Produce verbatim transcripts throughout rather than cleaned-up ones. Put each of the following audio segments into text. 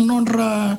nodra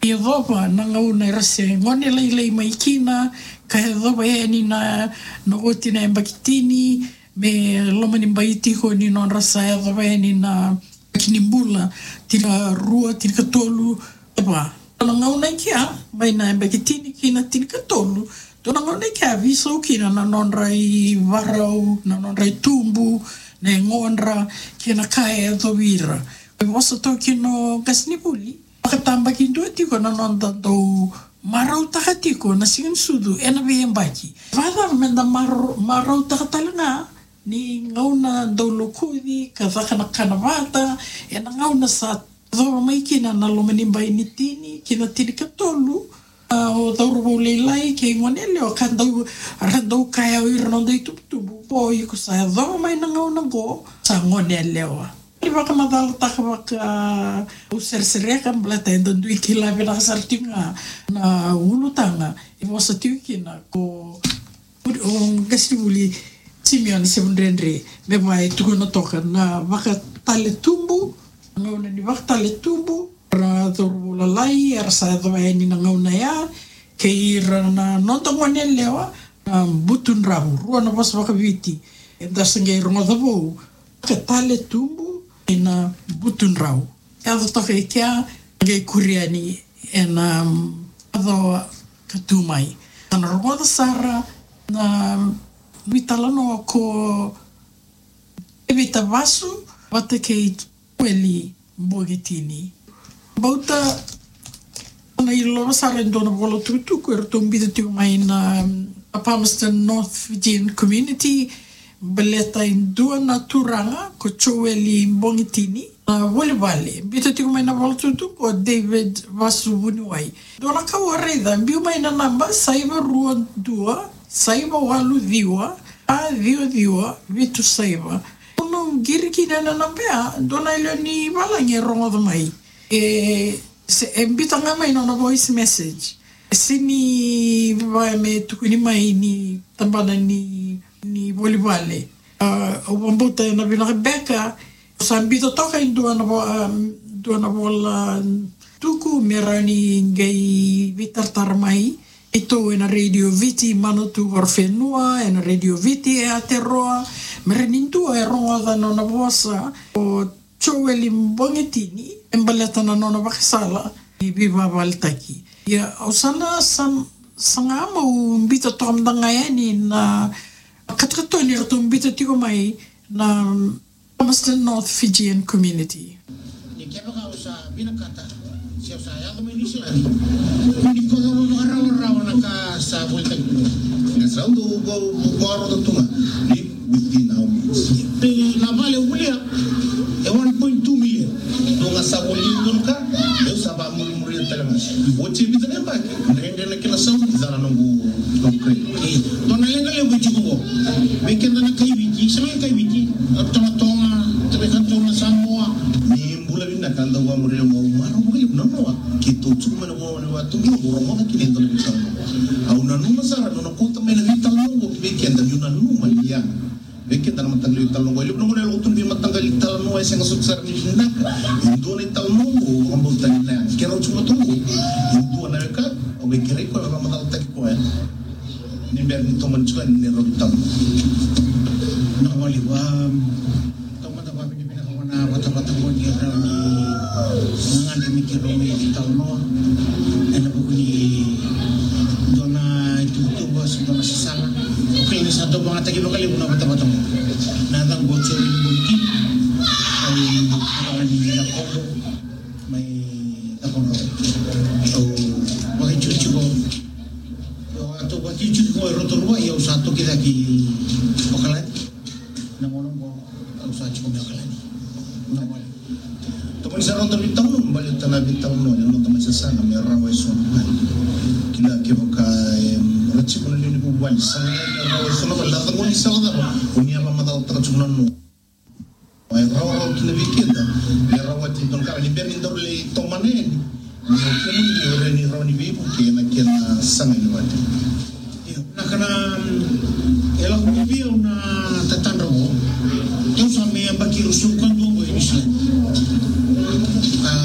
yacova na gauna era se gone lailai mai kina, ka yacova yani na, na oti na yabaki tini, me loma ni bai tiko ni nodra sa yacova yani na yabaki ni bula, tinikarua, tinikatolu, e va. Na gauna i kea, mai na yabaki tini ki na tinikatolu, dua na gauna i kea veisau kina na nodra ivarau, na nodra itubu, na yagodra, kei na ka e yacovi ira. E vosa toka kina o qasenivuli, vakatabakidua tiko na noda dau marautaka tiko na siga ni sucu ena veiyabaki. Vakacava meda mara-, marautaka tale ga ni gauna dau lokuci ka caka na kana vata, ena gauna sa yacova mai kina na loma ni bai ni tini ki na tinikatolu, a, o cauravou lailai kei gone yalewa ka dau, ra dau kaya o ira na noda itubutubu, o iko sa yacova mai na gauna qo, sa gone yalewa. Ni vakamacalataka vaka, au seresereka baleta eda dui kila vinaka sara tiko ga na ulutaga e vosa tiko kina ko o qasenivuli Simione Sevudredre, me vaka e tukuna toka na vakataletubu, na gauna ni vakataletubu, ra cauravou lailai era sa yacova yani na gauna ya, kei ira na noda gone yalewa, na butudrau, rua na vosa vakaviti eda se qai rogoca vou, vakataletubu kei na butudrau. Yaco toka i kea, qai kuri yani ena, um, macawa ka tu mai. Sa na rogoca sara na veitalanoa ko Tevita Vasu vata kei Joeli Bogi Tini. Bauta na ilova sara e dua na vola tukutuku eratou biuta tiko mai na, um, Palmerston North Fijian Community, baleta e dua na turaga ko Joeli Bogi Tini. Na voli vale, biuta tiko mai na vola tukutuku ko David Vasu Vuniwai. Dua na ka au a raica, biu mai na naba saiva rua dua, saiva walu ciwa, a ciwa ciwa, vitu saiva. Au na qiri kina na naba ya, dua na lewe ni valagi e rogoca mai. E, se, e biuta ga mai na nona voice message. E sega ni vaka me tukuni mai ni tabana ni, ni voli vale. A, au vakabauta ena vinaka beka, au sa biuta toka e dua na vo-, a, dua na vola tuku me rawa ni qai veitaratara mai. Keitou ena Radio Viti Manawatu, Horowhenua, ena Radio Viti e Aotearoa, me rawa ni dua e rogoca na nona vosa, o Joeli Bogi Tini, e baleta na nona vakasala ni veivakavaletaki. Ia, au sa na sa-, saga meu biuta toka mada ga yani na katokatoni eratou biuta tiko mai na Palmerston North Fijian Community. Ni kevaka au sa vinakata, se au sa yaco mai Niusiladi, ni koto vakararawa na ka sa volitaki. Na sa dau vakarogo tu ga ni within our means. Pe na vale au volia e one point two million. Dua ga sa voli dua na ka, au sa vakamurimuri tale ga. Oti e vica na yabaki, dredre na kena saumi, ca na noqu, noqu credit. Dua na leqa levu e tiko qo. Vei keda na kai Viti, sega ni kai Viti, na Tonga, Tonga, Tonga, Samoa. Ni bula vinaka, dau vakamuria, au marau vakalevu na noa. Keitou tiko mai na vanua ni vatu, au rogoca kina e dua na veitalanoa. Au nanuma sara, nona kauta mai na veitalanoa qo vei keda, niu nanuma ni ya. Vei keda na mataqali italanoa qo, e levu na gauna e lako tu na veimataqali italanoa e sega soti sara ni vinaka. E dua na italanoa qo, au vakabauta ni na yaga. Keirau tiko mai tu qo, e dua na weka, au qai kerei koya me vakamacalataki koya. Ni bera ni tomani tiko yani na neirau italanoa. Na wali wa, taumada vavinavinaka vua na vatavata qo ni rawa ni gagadre me keirau mai italanoa. Ena vuku ni dua na ituvatuva se dua na sasaga. Au kila ni sa dau vagataki vakalevu na vatavata qo. Na yacaqu o Joeli Bogi Tini. Au rawa ni Yakobo mai Yakobo. Au vakaitikotiko. Au a tou vakaitikotiko e Rotorua, ia au sa toki cake i Okaladi. Na gauna qo au sa tiko mai Okaladi. Na gauna. Tomani sara na noda veitalanoa, baleta na veitalanoa, na noda mai sasaga me rawa e so na vale. Kila kevaka, em, ra tiko na lewe ni vuvale, saga me rawa e so na vale, na cava ni sala cava, o ni a vakamacalataka tiko na noa. E rawarawa kina vei keda, me rawati dua na ka, ni bera ni daru lai tomana yani, ni o kemuni, ni o rai ni rawa ni veivuke ena kena saga ni vale. Io.